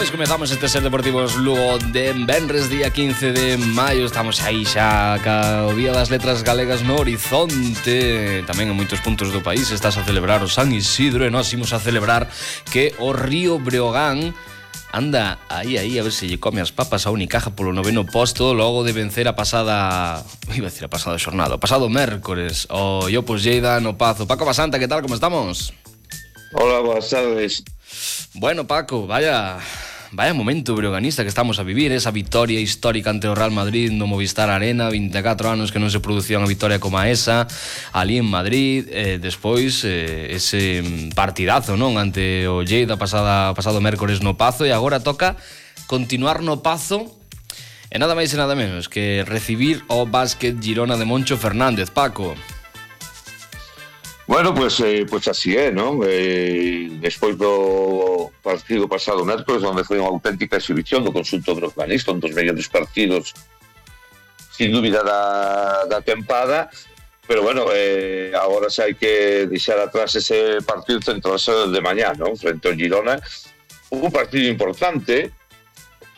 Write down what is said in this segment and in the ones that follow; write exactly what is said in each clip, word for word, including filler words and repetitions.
Pois comezamos este Ser Deportivos Lugo de venres, día quince de maio. Estamos aí xa ca o Día das Letras Galegas no horizonte. Tamén en moitos puntos do país estás a celebrar o San Isidro, e nós imos a celebrar que o Río Breogán anda aí, aí, a ver se lle come as papas a Unicaja polo noveno posto, logo de vencer a pasada, iba a decir a pasada xornada, o pasado mércores, o Iopos Lleida no Pazo. Paco Basanta, que tal, como estamos? Hola, boas tardes. Bueno, Paco, vaya vaya momento breoganista que estamos a vivir, esa victoria histórica ante o Real Madrid no Movistar Arena, vinte e catro anos que non se producía unha victoria como a esa ali en Madrid, eh, despois eh, ese partidazo, non, ante o Lleida pasada pasado mércores no Pazo, e agora toca continuar no Pazo e nada máis e nada menos que recibir o Básquet Girona de Moncho Fernández. Paco. Bueno, pues, eh, pues así é, non? Eh, despois do partido pasado mércores, onde foi unha auténtica exhibición do conxunto breoganista, un dos mellores partidos sin dúbida da, da tempada, pero bueno, eh, agora xa hai que deixar atrás ese partido centrarse de mañá, non? Frente ao Girona, un partido importante,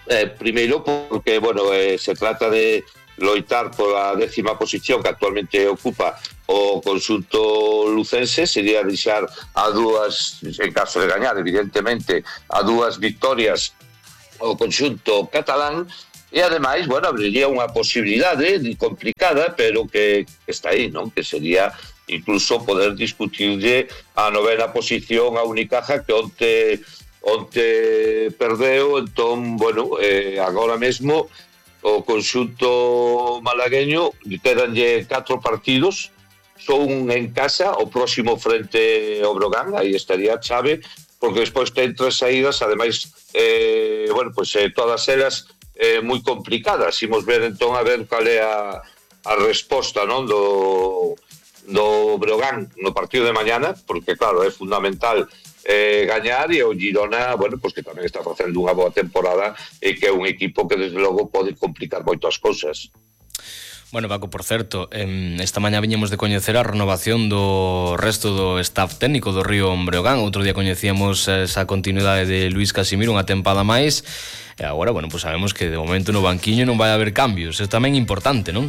eh, primeiro porque, bueno, eh, se trata de loitar pola décima posición que actualmente ocupa o conxunto lucense, sería deixar a dúas, en caso de gañar, evidentemente, a dúas victorias o conxunto catalán, e ademais, bueno, abriría unha posibilidade complicada, pero que, que está aí, non? Que sería incluso poder discutirlle a novena posición a Unicaja, que onte, onte perdeu. Entón, bueno, eh, agora mesmo o conxunto malagueño quedanlle catro partidos, son en casa, o próximo frente ao Breogán, aí estaría a chave, porque despois ten tres saídas, ademais, eh, bueno, pues eh, todas elas eh, moi complicadas. Imos ver entón a ver cal é a, a resposta, non, do, do Breogán no partido de mañana, porque claro, é fundamental eh, gañar, e o Girona, bueno, pues que tamén está facendo unha boa temporada e que é un equipo que desde logo pode complicar moito as cousas. Bueno, Paco, por certo, esta mañá viñemos de coñecer a renovación do resto do staff técnico do Río Breogán. Outro día coñecíamos esa continuidade de Luís Casimiro, unha tempada máis, e agora, bueno, pues sabemos que de momento no banquiño non vai haber cambios. É tamén importante, non?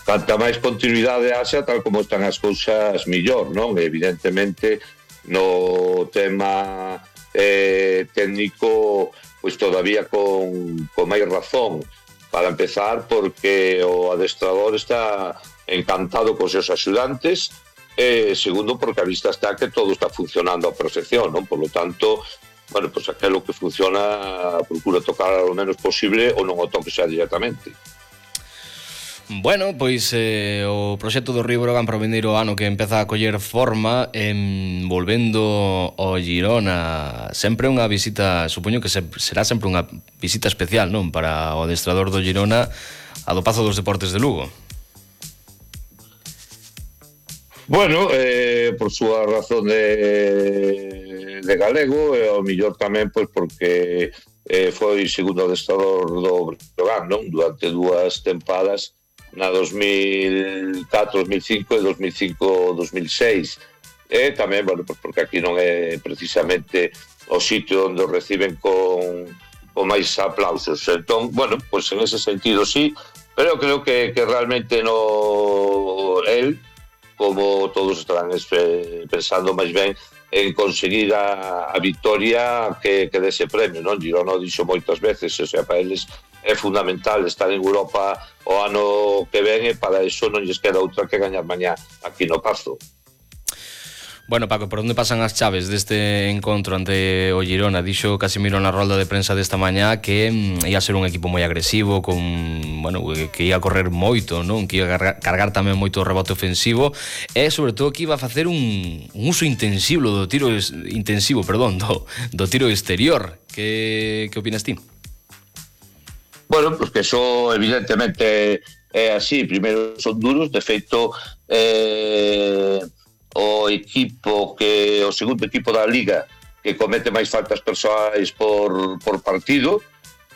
Canta máis continuidade haxa, tal como están as cousas, millor, non? Evidentemente, no tema eh, técnico, pois todavía con, con máis razón. Para empezar, porque o adestrador está encantado con seus axudantes, e segundo, porque a vista está que todo está funcionando a perfección, non? Por lo tanto, bueno, pues aquilo que funciona procura tocar o menos posible ou non o toque xa directamente. Bueno, pois eh, o proxecto do Río Breogán para o vindeiro ano que empeza a coller forma, eh, volvendo ao Girona, sempre unha visita, supoño que se, será sempre unha visita especial, non? Para o adestrador do Girona, a do Pazo dos Deportes de Lugo. Bueno, eh, por súa razón de, de galego, e ao millor tamén pois porque eh, foi segundo adestrador do Breogán, non? Durante dúas tempadas, na dos mil catro, dos mil cinco e dos mil cinco, dos mil seis. E tamén, bueno, porque aquí non é precisamente o sitio onde o reciben con, con máis aplausos. Entón, bueno, pues en ese sentido sí, pero creo que, que realmente no él, como todos estarán pensando máis ben en conseguir a, a victoria que, que dese premio, non? Girona dixo moitas veces, o sea, para eles é fundamental estar en Europa o ano que ven, e para iso non lles queda outra que gañar mañá aquí no Pazo. Bueno, Paco, por onde pasan as chaves deste encontro ante o Girona? Dixo Casimiro na rolda de prensa desta mañá que mm, ia ser un equipo moi agresivo, con, bueno, que ia correr moito, non? Que ia cargar, cargar tamén moito o rebote ofensivo, e sobre todo que iba a facer un, un uso intensivo do tiro intensivo, perdón, do, do tiro exterior. Que, que opinas ti? Bueno, pues que eso evidentemente é así. Primeiro son duros, de feito eh, o equipo que o segundo equipo da Liga que comete máis faltas persoais por, por partido,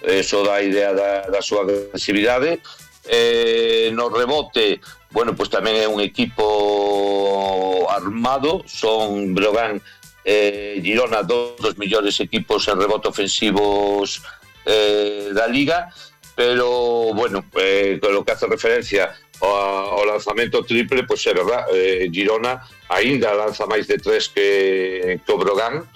eso dá idea da, da súa agresividade. Eh, no rebote, bueno, pues tamén é un equipo armado, son Breogán eh, Girona, dos dos millores equipos en rebote ofensivos eh, da Liga, pero, bueno, eh, con lo que hace referencia ao, ao lanzamento triple, pois é verdad, eh, Girona aínda lanza máis de tres que, que o Brogan,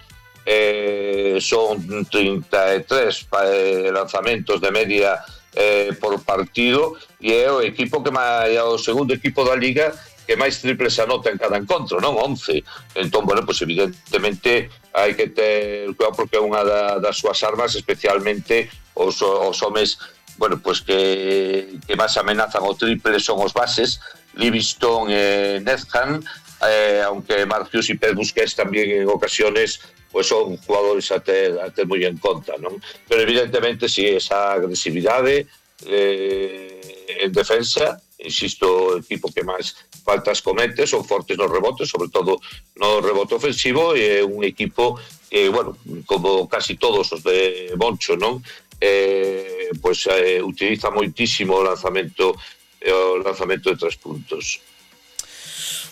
eh, son trinta e tres eh, lanzamentos de media eh, por partido, e é o equipo que máis, é o segundo equipo da Liga que máis triples anota en cada encontro, non? once. Entón, bueno, pues evidentemente hai que ter cuidado porque é unha da, das súas armas, especialmente os, os homes, bueno, pues que, que máis amenazan o triple son os bases, Livingston e Netham, eh, aunque Marcius e Pep Busquets tamén en ocasiones pues son jugadores a ter, a ter moi en conta, non? Pero evidentemente si sí, esa agresividade eh, en defensa, insisto, o equipo que máis faltas comete, son fortes nos rebotes, sobre todo no rebote ofensivo, e é un equipo que, bueno, como casi todos os de Moncho, non? Eh, pues eh, utiliza moitísimo o lanzamento o lanzamento de tres puntos.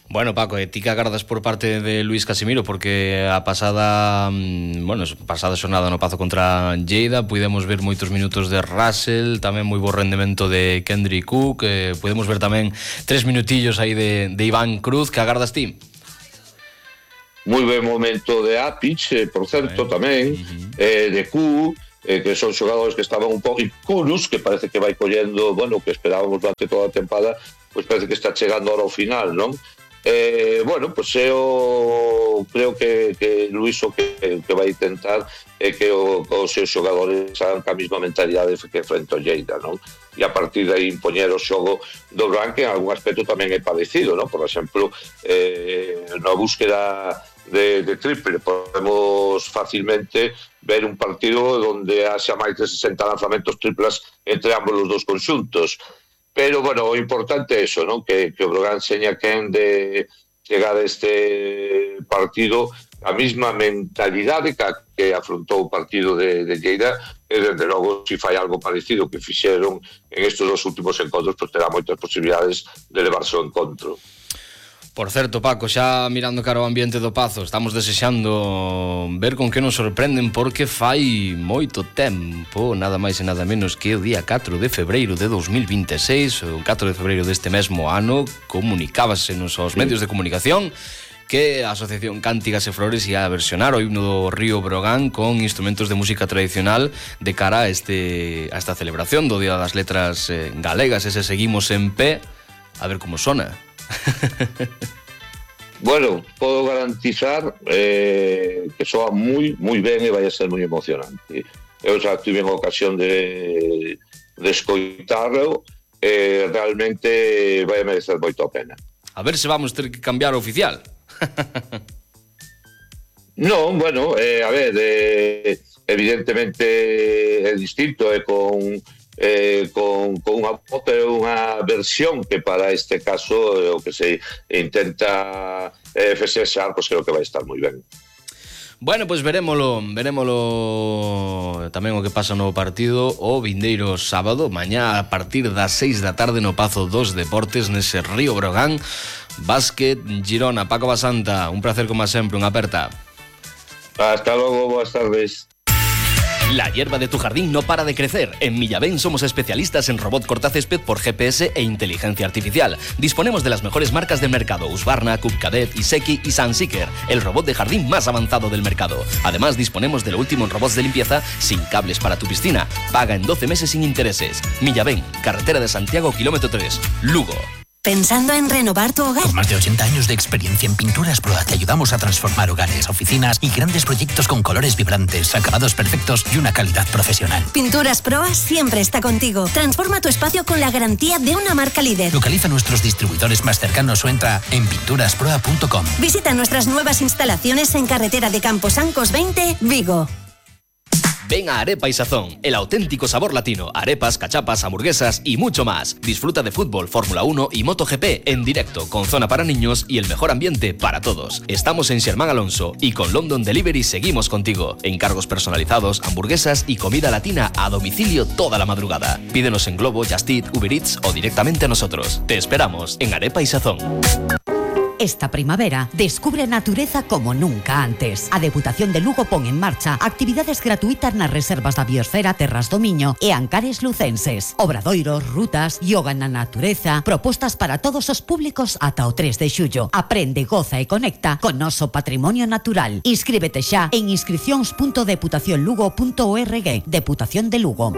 Bueno, Paco, e ti que agardas por parte de Luís Casimiro, porque a pasada, bueno, pasada xornada no Pazo contra Lleida pudemos ver moitos minutos de Russell, tamén moi bo rendemento de Kendrick Cook, eh, pudemos ver tamén tres minutillos aí de, de Iván Cruz. Que agardas ti? Moi ben momento de Apic, eh, por certo, eh, tamén, uh-huh. eh, de Q, eh, que son xogadores que estaban un pouco, e Kurus, que parece que vai collendo, bueno, que esperábamos durante toda a tempada, pois pues parece que está chegando ahora ao final, non? Eh, bueno, pues eu creo que, que Luís o que, que vai intentar é que o, os seus xogadores hagan a mesma mentalidade que frente ao Lleida, non? E a partir de aí impoñer o xogo do Brogan, que en algún aspecto tamén é parecido, non? Por exemplo, eh, na búsqueda de, de triple podemos facilmente ver un partido onde haxa máis de sesenta lanzamentos triplas entre ambos os dos conxuntos. Pero, bueno, o importante é eso, ¿no? Que, que o Brogan seña quen de chegar a este partido a mesma mentalidade que, que afrontou o partido de, de Lleida, e, desde logo, se fai algo parecido que fixeron en estes dos últimos encontros, pues terá moitas posibilidades de levarse o encontro. Por certo, Paco, xa mirando cara ao ambiente do Pazo, estamos desexando ver con que nos sorprenden, porque fai moito tempo, nada máis e nada menos que o día catro de febreiro de dos mil vinte e seis, o catro de febreiro deste mesmo ano, comunicábasenos aos medios de comunicación que a Asociación Cántigas e Flores ia a versionar o himno do Río Brogan con instrumentos de música tradicional de cara a, este, a esta celebración do Día das Letras eh, Galegas. Ese seguimos en pé, a ver como sona. Bueno, podo garantizar eh, que soa moi, moi ben e vai a ser moi emocionante. Eu xa tive en ocasión de, de escoitarlo, e eh, realmente vai a merecer moito a pena. A ver se vamos ter que cambiar o oficial. Non, bueno, eh, a ver, eh, evidentemente é distinto, é eh, con... Eh, con, con unha unha versión que para este caso é o que se intenta eh, festexar, pois creo que vai estar moi ben. Bueno, pois pues verémolo, verémolo tamén o que pasa no partido o vindeiro sábado, mañá a partir das seis da tarde no Pazo dos Deportes, nese Río Brogan. Básquet Girona. Paco Basanta, un placer como sempre, unha aperta. Hasta logo, boas tardes. La hierba de tu jardín no para de crecer. En Millaben somos especialistas en robot cortacésped por G P S e inteligencia artificial. Disponemos de las mejores marcas del mercado: Husqvarna, Cub Cadet, Iseki y Sunseeker, el robot de jardín más avanzado del mercado. Además, disponemos de lo último en robots de limpieza sin cables para tu piscina. Paga en doce meses sin intereses. Millaben, carretera de Santiago, kilómetro tres, Lugo. ¿Pensando en renovar tu hogar? Con más de ochenta años de experiencia en Pinturas Proa te ayudamos a transformar hogares, oficinas y grandes proyectos con colores vibrantes, acabados perfectos y una calidad profesional. Pinturas Proa siempre está contigo. Transforma tu espacio con la garantía de una marca líder. Localiza nuestros distribuidores más cercanos o entra en pinturas proa punto com. Visita nuestras nuevas instalaciones en carretera de Camposancos veinte, Vigo. Ven a Arepa y Sazón, el auténtico sabor latino. Arepas, cachapas, hamburguesas y mucho más. Disfruta de fútbol, Fórmula uno y MotoGP en directo, con zona para niños y el mejor ambiente para todos. Estamos en Xermán Alonso y con London Delivery seguimos contigo. Encargos personalizados, hamburguesas y comida latina a domicilio toda la madrugada. Pídenos en Globo, Just Eat, Uber Eats o directamente a nosotros. Te esperamos en Arepa y Sazón. Esta primavera, descubre a natureza como nunca antes. A Deputación de Lugo pon en marcha actividades gratuitas nas reservas da Biosfera, Terras do Miño e Ancares lucenses. Obradoiros, rutas, yoga na natureza, propostas para todos os públicos ata o tres de xullo. Aprende, goza e conecta con noso patrimonio natural. Inscríbete xa en inscripcións punto deputación lugo punto org. Deputación de Lugo.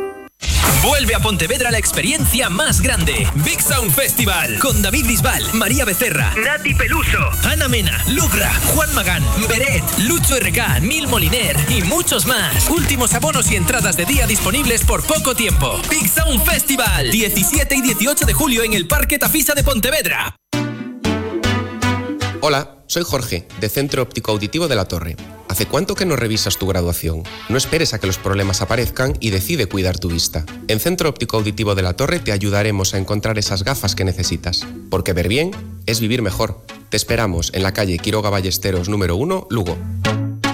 Vuelve a Pontevedra la experiencia más grande. Big Sound Festival. Con David Bisbal, María Becerra, Nati Peluso, Ana Mena, Lugra, Juan Magán, Beret, Lucho R K, Neil Moliner y muchos más. Últimos abonos y entradas de día disponibles por poco tiempo. Big Sound Festival. diecisiete y dieciocho de julio en el Parque Tafisa de Pontevedra. Hola, soy Jorge, de Centro Óptico Auditivo de La Torre. ¿Hace cuánto que no revisas tu graduación? No esperes a que los problemas aparezcan y decide cuidar tu vista. En Centro Óptico Auditivo de La Torre te ayudaremos a encontrar esas gafas que necesitas. Porque ver bien es vivir mejor. Te esperamos en la calle Quiroga Ballesteros número uno, Lugo.